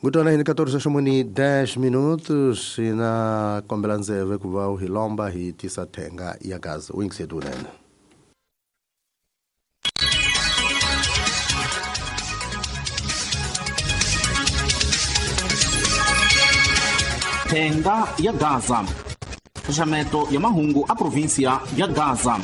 Ngutwana hi 14:10 minutos na kombela ndzeve ku va hi lomba hi tisa thenga ya gaza u yingiseti unene. Thenga ya Gaza, nxaxameto ya mahungu a provinsia ya Gaza.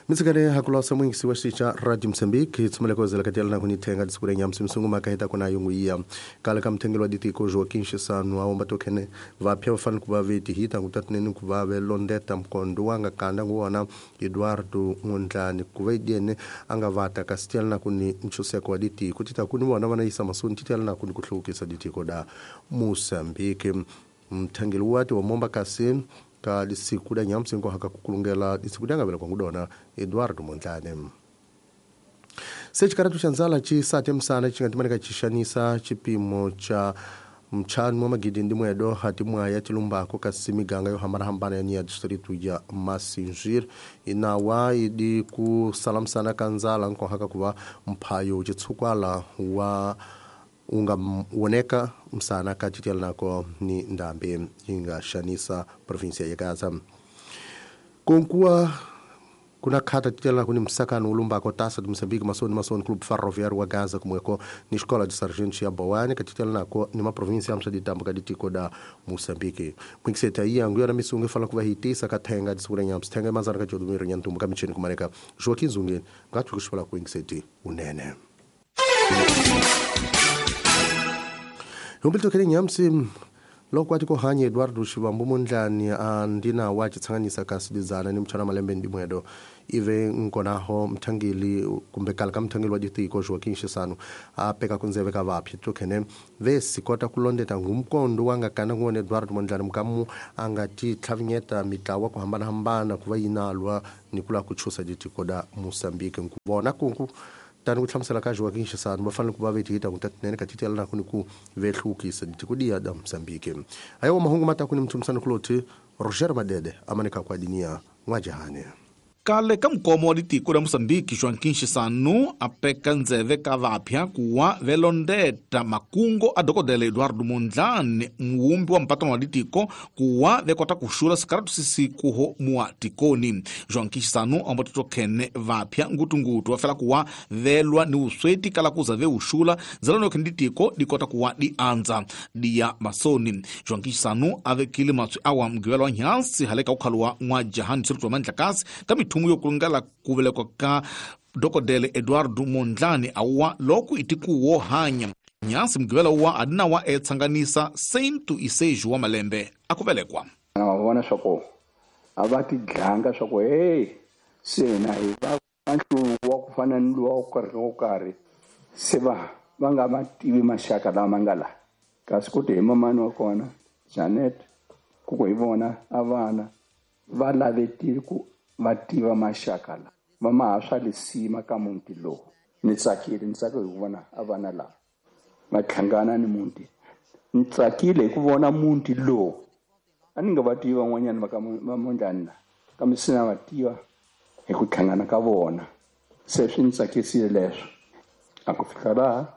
Mitsikale hakulosa mwingisi wa xicha Radio Mozambique hi tshumeleko zela katiela na kunithenga disukule nyamsi msungu makahita kuna yungu iya kala ka mthengelo wa ditiko Joaquim Chissano aomba tokhene vapya vafanele ku va veti hita ngutatinene ku va ve londeta mkondo wanga kanda nguwona Eduardo Mondlane ku va idiene a nga vata kasi tiela na kuni nchuseko wa ditiko tita kuni vona vana yisa masoni titiela na kuni ku hluvukisa ditiko da Mozambique. Mthengelo wati wa momba kasi ka lisiku da nyamsi ngo haka kukulungela lisiku da ngavela kwangudona Eduardo Mondlane. Sechikaratu cha nzala chi sate msana chingatimana chishanisa chipimo cha mchanu wa magidi ndi mwedo hati mwaya chilumbako kasi miganga yo hambarahambana ya nia distritu ya Masinjir inawa idi kusalamsana kanzala nko haka kuva mphayo chitsukwala wa unga woneka msana kachitiala nako ni ndambe inga shanisa provinsia ya Gaza. Konkuwa kuna khata titiala kuni msakano ulumbako tasa de Moçambique masoni masoni Clube Ferroviário wa Gaza kumweko ni escola de sargentos ya Boane katitiala nako ni ma província amsa de tambo kaditiko da Moçambique. Mwingiseta iya nguya na misungu fala kuva hitisa kathenga disukura nyamsi thenga mazana kachodumiro nyantumbu kamichini kumareka Joaquim Zungeni ngatu kushwala kuingiseti unene. Humbilto kele nyamsi loko ati kohanye Eduardo Shivambu Mondlane andina wachitsanganisa kasidizana ni mchana malembe ndi mwedo ive nkonaho mthangeli kumbe kala ka mthangeli wa ditiko Joaquim Chissano apeka kunzeve ka vaphi tokhene vesi kota kulondeta ngumkondo wanga kana ngone Eduardo Mondlane mukamu angati tlhavinyeta mitlawa ku hambana hambana kuva yinalwa ni kula kuchusa ditiko da Mozambique nkuvona kunku tani ku hlamusela ka Joaquim Chissano va fanele ku va veti hita ngutatinene ka titela na kuni ku vehlukisa ditiko diya da Mozambique. Ayo mahungu mata kuni mthumisano kuloti Roger Madede amanika kwa dinia n'wajahane. Kale ka mukomo wa ditiko la Mozambique Joaquim Chissano apeka ndzeve ka vapya kuwa velondeta makungo a dokodela Eduardo Mondlane muumbi wa mpatano wa ditiko kuwa vekota kuxula sikaratu sisikuho mua tikoni. Joaquim Chissano amba totokhene vapya ngutungutu vafela kuwa velwa ni usweti kala kuza veuxula ndzela nokhene ditiko dikota kuwa di andza diya masoni. Joaquim Chissano avekile matswi awa mugivelo wa nhansi haleka ukhaluwa n'wajahani district wa Mandlakazi ka mithumu yokulungela kuvelekwa ka dokodele Eduardo Mondlane awa loko itikuwo hanya nyansi mugivela uwa adinawa etsanganisa 106 wa malembe akuvelekwa. Va vona swa a va tidlanga swa ku hey se na hi va nhluvuko wa ku fana ni luwa wo karhi wo karhi se va va nga va tivi maxaka lama nga la kasi ku ti hi mamani wa kona Janet ku ku hi vona a vana va lavetile ku va tiva maxaka la va ma ha swa lisima ka muti lowu. Ni tsakile ni tsakile hi ku vona a vana lava va hlangana ni muti, ni tsakile hi ku vona muti lowu a ni nga va tivi van'wanyana va ka va Mondlane la kambe se na va tiva hi ku hlangana ka vona, se swi ni tsakisile leswo. A ku fika laha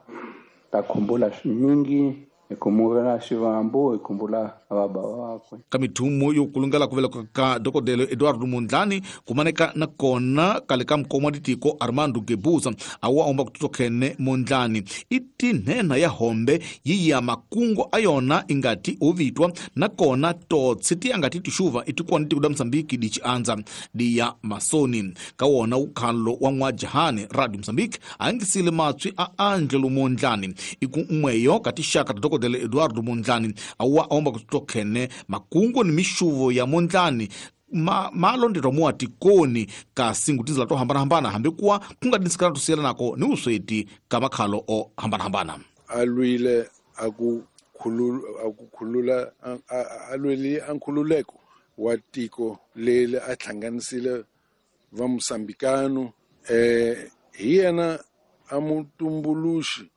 ta khumbula swinyingi hi khumbula Xivambu hi khumbula baba wakwe. Ka mithumo yo kulungela ku veleka ka dokodela Eduardo Mondlane kumaneka na kona kale ka mukoma wa ditiko Armando Gebuza awa omba kutotokhene Mondlane i tinhenha ya hombe yi ya makungo a yona ingati ovitwa na kona totsi ti angati tixuva itikwana tiko da Mozambique di chiandza di ya masoni. Ka wona ukhalo wa n'wajahani Radio Mozambique a angisile matswi a Angelo Mondlane iku n'weyo ka tixaka ta dokodela Eduardo Mondlane awa omba kutotokhene makungo ni mixuvo ya Mondlane malondetwa mua tikoni kasi ngutizela to hambanahambana hambi kuwa ku nga dinsikana to siyelanako ni usweti ka makhalo o hambanahambana. A lwile a ku khulula a lwele a nkhululeko wa tiko leri a hlanganisile va Mosambikano hi yena a mutumbuluxi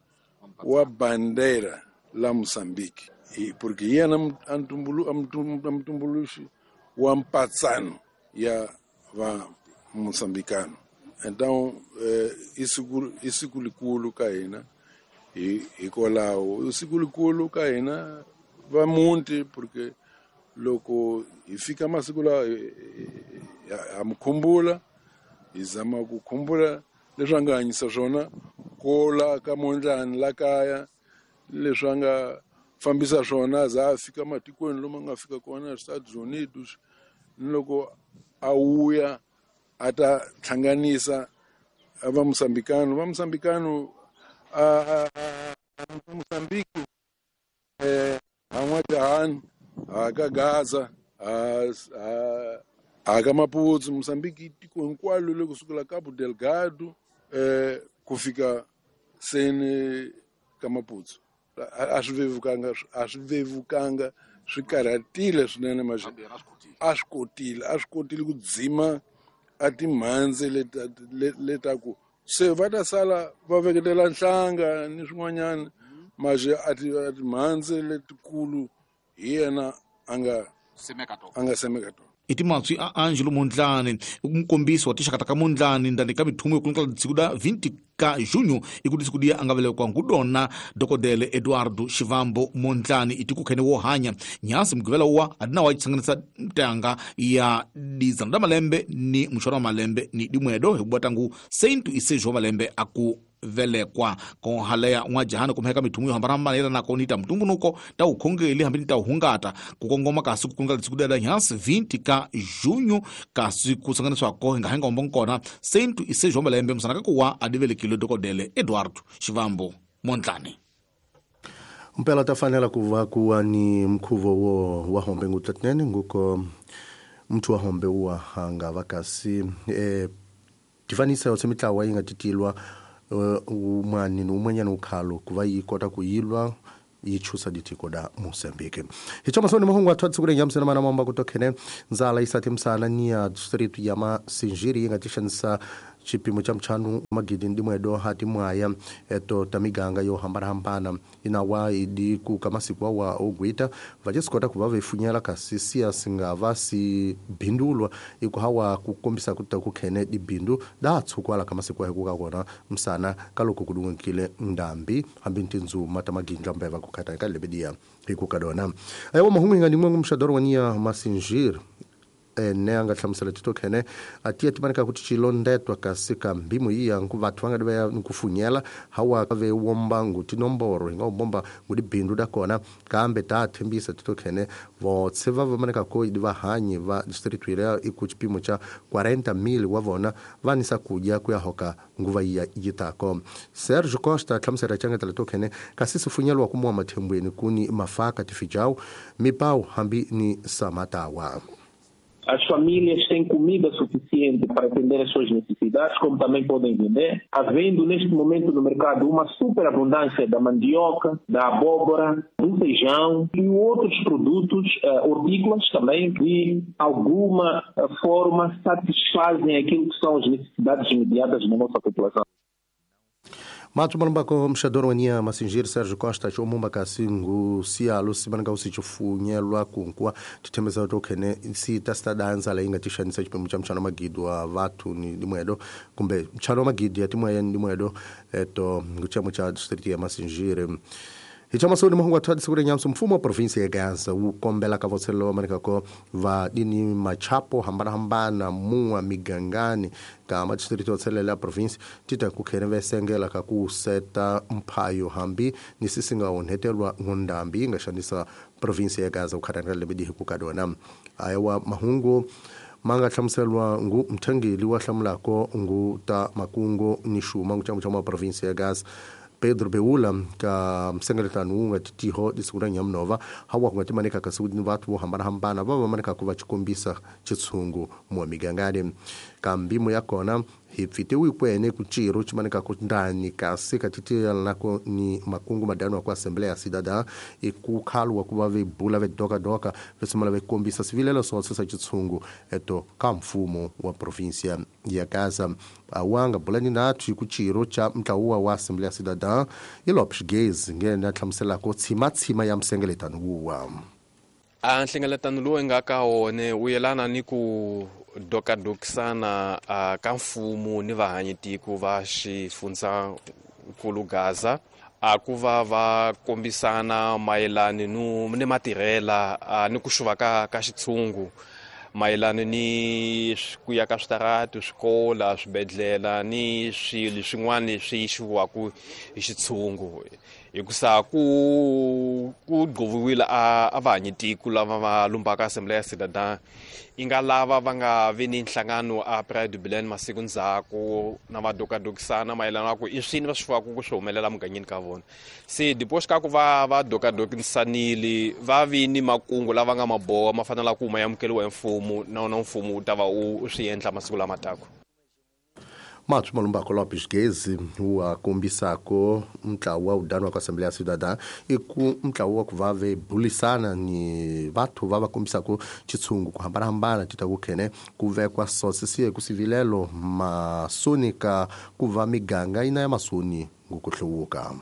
wa bandera la Mozambique porque hi yena a mutumbuluxi wa mpatsano ya va Moçambicano. Então i siku likulu ka hina hikwalaho i siku likulu ka hina va muti, porque loko hi fika masiku lawa ha mi khumbula, hi zama ku khumbula leswi a nga hanyisa swona kola ka Mondlani la kaya, leswi a nga fambisa swona za a fika matikweni lomu a nga fika kona Estados Unidos, ni loko a wuya a ta hlanganisa va Moçambicano. Va Moçambicano a Moçambique ha N'wa-Jahani, ha ka Gaza, ha ka Maputo. Moçambique tiko hinkwalo le kusukela Cabo Delgado ku fika seni ka Maputo. A swi vevukanga, swi karhatile swinene, maxi a swi kotile ku dzima a timhandzi letaku se va ta sala va veketela nhlanga ni swin'wanyana, maxi a timhandzi letikulu hi yena a nga semeka tona. I timatswi a Angelo Mondlane, mukombisi wa tinxaka ta ka Mondlane ndani ka mithumo yo kulungela siku da 20 ka junho i ku siku dia a nga velekiwa ngudona Dokodele Eduardo Shivambo Mondlane i tiko khene wo hanya nyasi mugivela wa adina wa tsanganisa ntanga ya dizana da malembe ni muxoro wa malembe ni dimwedo hi ku tangu sentu isejo malembe aku velekwa ko haleya N'wa-Jahani kumheka mithumu yo hambanahambana yela nako ni ta mutumbunuko ta ukhongeli hambi ni ta uhungata ku kongoma kasi ku kunga siku da nyasi 20 ka junho kasi ku sanganiswako hi nga henga ombo nkona sentu isejo malembe musana ka kuwa adivelekile Dokodele Eduardo Shivambo Mondlane. Mpela ta fanela ku va kuwa ni mkhuvo wo wa hombe ngutlatnene nguko muthu wa hombe wa hanga vakasi tifanisa yotse mitlawa yi nga titilwa umani ni umwenyana ukhalo kuva yi kota ku yilwa yi chusa ditiko da Moçambique. Hichoma soni mahungu athu atsikule nyamsena mana mamba kutokhene nzala isati msana ni ya district ya Masinjiri yi nga tixanisa xipimo xa mchanu magidi ndimwedo hati mwaya eto tamiganga yo hambana-hambana inawa idi ku masiku wa ogwita vachisikota kuva vefunyela kasi siya singava si bindulwa iku hawa kukombisa kuta kukhene dibindu da tsukwala kamasiku wa hikuka kona msana kaloko kudungikile ndambi hambi ntinzuma tamagindla mbeva kukhata ka lebedia hikuka dona ayo mahungu hinga ndimwe mshadoro wania Masinjiri ne anga hlamusela titokhene atiya timanika kuti chilondetwa kasi ka mbimo iya vathu va nga va nkufunyela hawa ve womba ngutinomboro hinga bomba ngudibindu da kona kambe ta thembisa titokhene votse va va ko idi va hanyi va district ya iku chipimo cha 40,000 wa vona vanisa kudya kuya hoka nguva iya yitako. Sergio Costa hlamusela changetela tokhene kasi sifunyelwa kumwa mathembweni kuni mafaka tifijau mipau hambi ni samatawa. As famílias têm comida suficiente para atender as suas necessidades, como também podem vender, havendo neste momento no mercado uma superabundância da mandioca, da abóbora, do feijão e outros produtos hortícolas também, que de alguma forma satisfazem aquilo que são as necessidades imediatas da nossa população. Mato malumbako mxadoro wania Masinjiri Sergio Costa chomumba kasingu sialo simananga usichifunyelwa kunkwa tithembesa tokhene sita sitadanza la inga tishanisa chipimo cha mchano magidi wa vathu ni dimwedo kumbe mchano magidi ya timwe ni dimwedo eto nguchamo cha district ya Masinjiri. Hichamasoni mahungu athu adisukule nyamso mfumo wa provinsi ya Gaza ukombela kavotselo manikako va dini machapo hambana hambana muwa migangani ka distrito otselela ya provinsi tita kukhene vesengela ka kuseta mphayo hambi ni sisinga onhetelwa ngondambi ingashanisa provinsi ya Gaza ukhatangala lebedi hikukadona ayawa mahungu manga hlamuselwa ngu mthengeli wa hlamulako ngu ta makungo ni xuma nguchamo cha provinsi ya Gaza Pedro Beula ka msengeletano unga titiho disukura nyamnova hawa kungatimanika kasudi vathu vo hambana-hambana va vamanika ku va chikombisa chitshungu mwa migangani kambimo ya kona hi pfitiwi kwene ku ciro chimanika ku ndani kasi katitiyanako ni makungu madano ku Assembleia Cidadã e ku khalwa ku va vebula vedokadoka vesimala vekombisa swivilelo swonse swa chitshungu eto ka mfumo wa provinsia ya Gaza awanga bulani nathu ku ciro cha mtlawuwa wa Assembleia Cidadã i Lopes Gaze ngena hlamuselako tshimatshima ya msengeletano wuwa. A nhlengeletano lowu nga ka wona wu yelana ni ku dokadokisana ka mfumo ni vahanyitiko va xifundzankulu Gaza a ku va va kombisana mayelana ni matirhela ni ku xuva ka xitshungu mayelana ni ku ya ka switarati, swikola, swibedhlele ni swilo swin'wana leswi xiviwaka hi xitshungu hikusa ku gqoviwile a vahanyitiko lava va lumbaka Assembleia Cidadã i nga lava va nga vi ni nhlangano a Praia do Belém masiku ndzhaku na va dokadokisana mayelana na ku i swini va swi faka ku swi humelela mugangeni ka vona. Se depois ka ku va dokadokisanile va vi ni makungu lava nga maboha ma fanela ku ma amukeriwa hi mfumo na wona mfumo wu ta va u swi endla masiku lama taka. Matos Malumbako Lopes Gezi wa kombisako ntlawa wa udano wa ka Assembleia Cidadã i ku ntlawa wa ku va ve bulisana ni vathu va va kombisako xitshungu ku hambanahambana ti ta ku khene ku vekwa sosisiye ku sivilelo masoni ka ku va miganga yina ya masoni ngukuhluvuka.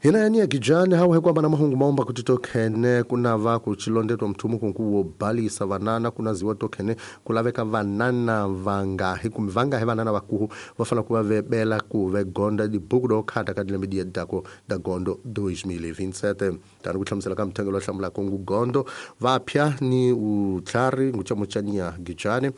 Hina yani ya kijani hawa hekwa na mahungu maomba kuti tokhene kuna va ku chilondetwa mthumu kunku wo balisa vanana kuna ziwa tokhene kulaveka vanana vangahi kumbe vangahi vanana vakuhu vafana kuva vebela ku vegonda dibuku do khata ka dilembe dia dako da gondo 2027 tani ku hlamusela ka mthengelo wa hlamula kongu gondo vapya ni utlhari nguchamuchania gijani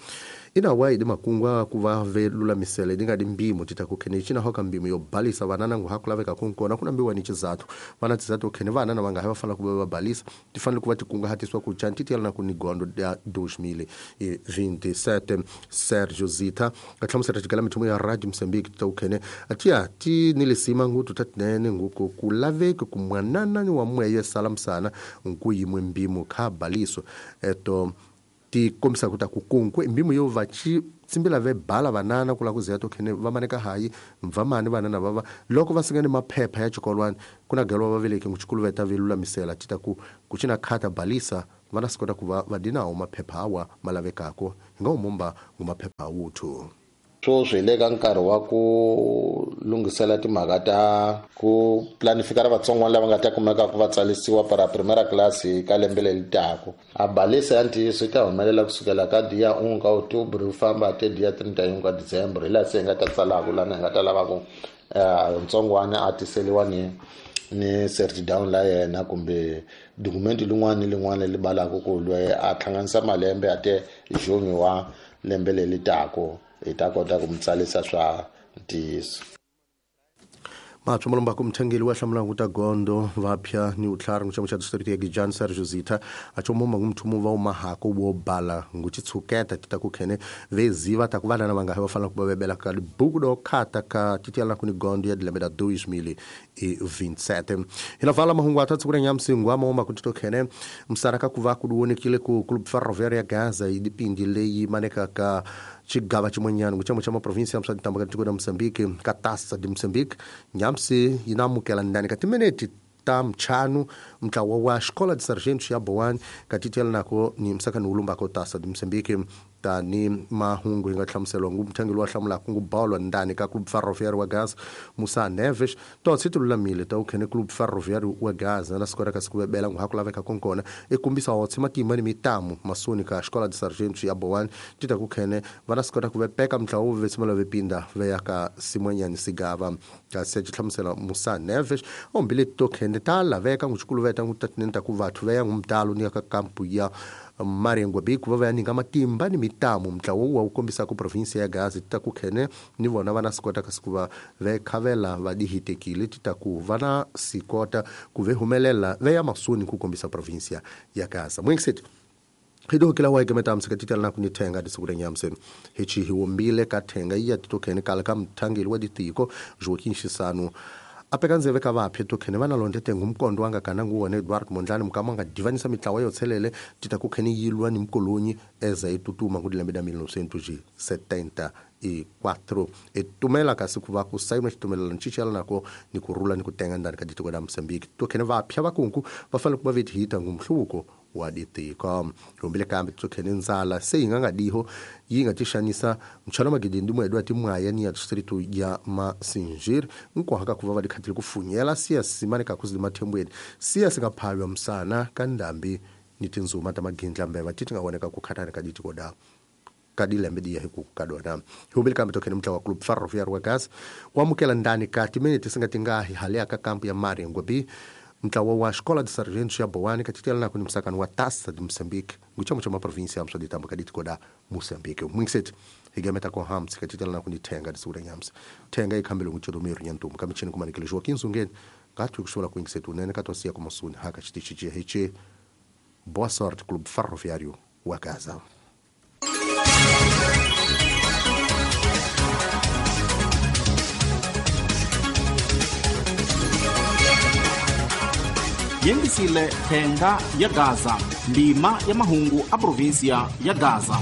ina wa idi makungwa kuva velulamisele dinga dimbimo tita kukhene china hoka mbimo yo balisa vanana ngu hakulaveka kunkona kuna mbiwa ni chizathu vana tizathu khene vanana vanga hava fana kuva vabalisa tifanele kuva tikunga hatiswa ku chantitiyela na ku ni gondo ya 2027 Sergio Zita kahlamusela xigala mithumo ya Radio Mozambique tita kukhene atiya ti nilisima ngutu tatinene nguku kulaveka kumwanana ni wa mweye salamsana nku yimwe mbimo kha baliso eto ti kombisa ku ta ku kunkwe mbimo yo va tsimbila ve bala vanana kula ku ziya to khene va maneka hayi mvamani vanana vava loko va singani maphepha ya xikolwani kuna gelwa va veleke ngu xikulu veta velulamisela ti ta ku ku cina khata balisa vana swi kota ku va va dinawo maphepha awa ma lavekako hi nga umumba ngu maphepha wuthu. Sweswi hi le ka nkarhi wa ku lunghisela timhaka ta ku planifikara vatsongwana lava nga ta kumeka ku va tsalisiwa para primera class ka lembe leri taka. A balisa ya ntiyiso yi ta humelela kusukela ka dia 1 ka October ku famba te dia 31 ka December hi laha se hi nga ta tsalaka lana hi nga ta lava ku ntsongwana a tiseliwa ni certidown la yena kumbe dokumenti lin'wana ni lin'wana leri balaka ku loyi a hlanganisa malembe a te juni wa lembe leri taka hi ta kota ku mutsalisa swa ntiyiso. Matsho Malumbako mthengeli wa hlamula nguta gondo vapya ni utlhari nguchamo cha district ya Gijani Sergio Zita achomoma ngumthumo va umahako wo bala nguchitsuketa tita kukhene veziva ta ku vanana vanga va fanela ku va vebela ka libuku do khata ka titiyela ku ni gondo ya dilembe da 2027 hina vala mahungu athathu kule nyamsingwa maoma kuti tokhene msaraka ku va ku duonekile ku Clube Ferroviária ya Gaza idipindi leyi maneka ka xigava xin'wanyana nguchamo cha maprovinsi ya Msantamba ka tiko la Mozambique ka Taça de Moçambique nyamsi yi na amukela ndani ka timinete ta mchanu mtlawa wa Escola de Sargentos ya Boane ka titiyela nako ni msakani wulumbako Taça de Moçambique tani mahungu hi nga hlamuseliwa ngu mthengeli wa hlamulaka ngu bolo ndani ka Clube Ferroviário wa Gaza Musa Neves totsi ti lulamile ta ukhene Clube Ferroviário wa Gaza na siku ra ka siku vebela ngu hakulaveka konkona i kombisa hotse matimba ni mitamu masoni ka Escola de Sargentos ya Boane ti ta ku khene va na sikota ku vepeka mntlawa wu vetsimela vepinda ve ya ka simwanyani sigava kasi xi hlamusela Musa Neves ombile to khene ta laveka ngu xikuluveta ngu tatinene ta ku vathu ve ya ngu mtalo ni ya ka kampu ya Marengo Biku va ya ninga matimba ni mitamu mntlawa wu kombisa ku provinsia ya Gaza ti ta ku khene ni vona va na sikota ka siku va ve khavela va dihitekile ti ta ku va na sikota ku ve humelela ve ya masoni ku kombisa provinsia ya Gaza mwingiseti hidokela wa igemeta msika titela na kunithenga disukule nyamse hichi hiwombile ka thenga iya titokhene kala ka mthangeli wa ditiko Joaquim Chissano apeka ndzeve ka vaphi tokhene va na londete ngumkondo wanga kana nguwona Edward Mondlane mukama nga divanisa mitlawa yo tshelele tita ku khene yilwa ni mkolonyi eza etutuma ku dilembe da 1974 etumela kasi ku va ku sayina xitumelelano xichela nako ni ku rhula ni ku tenga ndani ka ditiko da Mozambique tokhene vapya vakunku va fanele ku va vetihita ngumhluvuko Wa ditiko hombile kambe tsokhene ndzala se yi nga nga diho yi nga tixanisa mchalo magidi ndimwedu ati mwaya ni ya distrito ya Masinjir nkohaka kuva va dikhatile kufunyela siya simane ka kuzili mathembweni siya singaphalwa msana ka ndambi ni tinzuma ta magindlambeva ti ti nga voneka ku khatana ka ditiko da ka dilembe diya hi ku ka dona humbile kambe tokhene mutla wa Club Ferroviário wa Gaza wamukela ndani ka timinete singa tingahi hale ka kampu ya Maringwe mutlawa wa Escola de Sargentos ya Boane katitela na kuni msakano wa Taça de Moçambique nguchamo cha maprovinsia ya msoditambo kaditiko da Moçambique mwingisethi higameta ko hams katitela na kuni thenga disura nyamsa thenga ikhambele nguchodo miru nyantumu kamichini kumanikile Joaquim Zungeni ngathi kusola kwingisethi unene katosiya kumasuni haka chitichi hichi. Boa sorte, Clube Ferroviário wa Gaza. Yengisile thenga ya Gaza, ndima ya mahungu a província ya Gaza.